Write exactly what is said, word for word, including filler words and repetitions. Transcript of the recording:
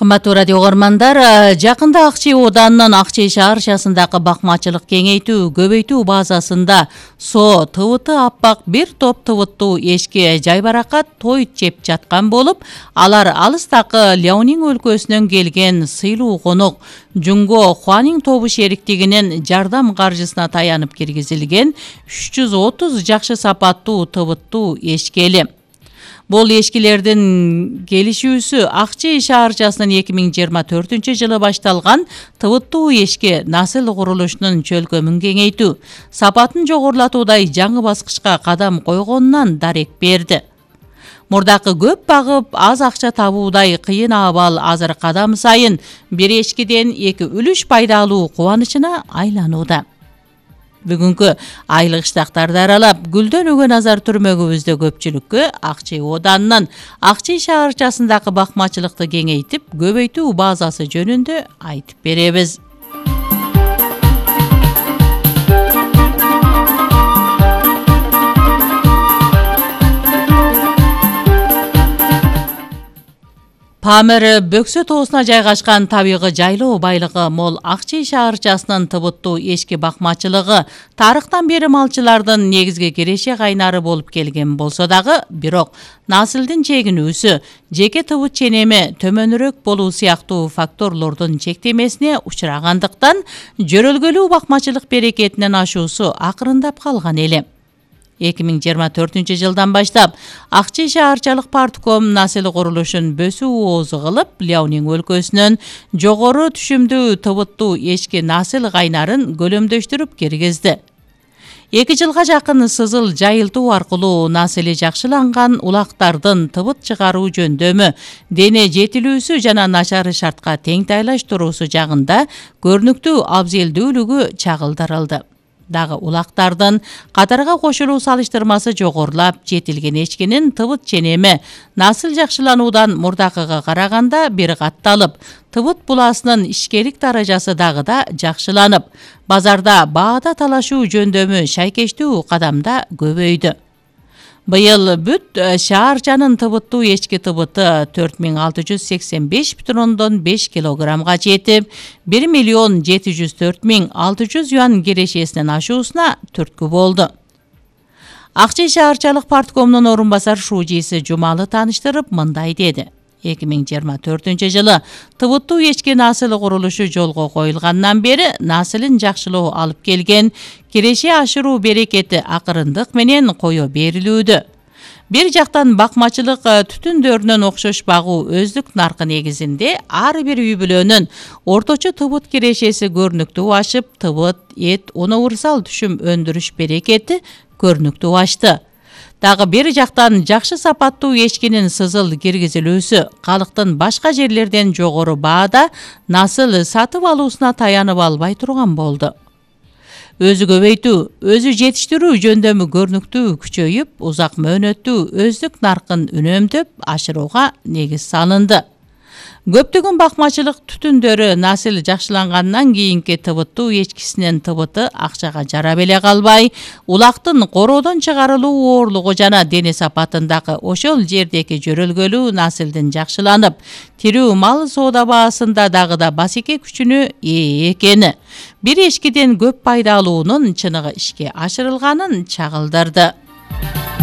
Кымбаттуу радио угармандар, жакында Ак Чүй Оданынын Ак Чүй шаарчасындагы бакмачылык кеңейтүү, көбөйтүү базасында Со ТВТ аппак бир топ тыбыттуу эшке жайбаракат той жеп жаткан болуп, алар алыстагы Ляонин өлкөсүнөн келген сыйлуу конок Жунго Хуанин тобу шериктигинин жардам каржысына таянып киргизилген үч жүз отуз жакшы сапаттуу тыбыттуу эшкели. Бул эшкилердин келишүүсү Ак Чүй шаарчасынын эки миң жыйырма төртүнчү жылы башталган тыбыттуу эшке насыл курулушунун чөлкөмүн кеңейтүү, сапатын жогорулатуудай жаңы баскычка кадам койгонунан дарек берди. Мурдакы көп багып аз акча табуудай кыйын абал азыр кадам сайын бир эшкиден эки үлүш пайдалуу кубанычына айланууда. Бүгүнкү айлык иштактарды аралап, гүлдөнүүгө назар түрмөгүбүздө көпчүлүккө Ак Чүй Оданынын Ак Чүй шаарчасындагы бакмачылыкты кеңейтип, көбөйтүү базасы жөнүндө айтып беребиз. Памир Бөксө тоосуна жайгашкан табигый жайлоо байлыгы мол Ак Чүй шаарчасынын тыбыттуу эшки бакмачылыгы тарыхтан бери малчылардын негизги киреше кайнары болуп келген болсо дагы, бирок насылдын чегинүүсү, жеке тыбыт ченеми төмөнүрөөк болуу сыяктуу факторлордун чектемесине учурагандыктан, жөрөлгөлүү бакмачылык берекетинен ашуусу акырындап калган эле. эки миң жыйырма төртүнчү жылдан баштап Ак Чүй шаарчалык партком насыл курулушун бөсүү оозу кылып, Ляонин өлкөсүнөн жогору түшүмдүү тыбыттуу эшки насыл кайнарын көлөмдөштүрүп киргизди. эки жылга жакын сызыл жайылтуу аркылуу насыли жакшыланган улактардын тыбыт чыгаруу жөндөмү, дене жетилүүсү жана начар шартка тең тайлаштыруусу жагында көрүнүктүү абзелдүүлүгү чагылдырылды. Дагы улактардын катарга кошулуу салыштырмасы жогорулап, жетилген эшкинин тыбыт ченеми насыл жакшылануудан мурдакыга караганда бир катталып, тыбыт буласынын ишкерлик даражасы дагы да жакшыланып, базарда баада талашуу жөндөмү шайкештүү кадамда көбөйдү. Быйыл бүт шаарчанын тыбыттуу эшки тыбыты төрт миң алты жүз сексен беш бүтүн ондон беш килограммга жетип, бир миллион жети жүз төрт миң алты жүз юан кирешесинен ашуусуна түрткү болду. Ак Чүй шаарчалык парткомунун орун басар шуужиси Жумалы тааныштырып мындай деди. эки миң жыйырма төртүнчү жылы тыбыттуу эшки насыл курулушу жолго коюлгандан бери насылын жакшылоо алып келген киреше ашыруу берекети акырындык менен кое берилүүдө. Бир жактан бакмачылык түтүндөрүнөн окшош багуу өздүк наркы негизинде ар бир үй бүлөнүн орточо тыбыт кирешеси көрүнүктүү ашып, тыбыт, эт, унаурсал түшүм өндүрүш берекети көрүнүктүү ашты. Дагы бир жактан жакшы сапаттуу эшкинин сызыл киргизилүүсү калктын башка жерлерден жогору баада насыл сатып алуусуна таянып албай турган болду. Өзү көбөйтүү, өзү жетиштирүү жөндөмү көрүнүктүү күчөйүп, узак мөөнөттүү өздүк наркын үнөмдөп ашырууга негиз салынды. Көптөгөн бакмачылык түтүндөрү насыл жакшылангандан кийинки тыбыттуу эшкисинин тыбыты акчага жарап эле калбай, улактын короодон чыгарылуу оорлугу жана дене сапатындагы ошол жердеги жөрөлгөлүү насылдын жакшыланып, тирүү мал соода баасында дагы да басеке күчүнө ээ экени, бир эшкиден көп пайдалуунун чыныгы ишке ашырылганын чагылдырды.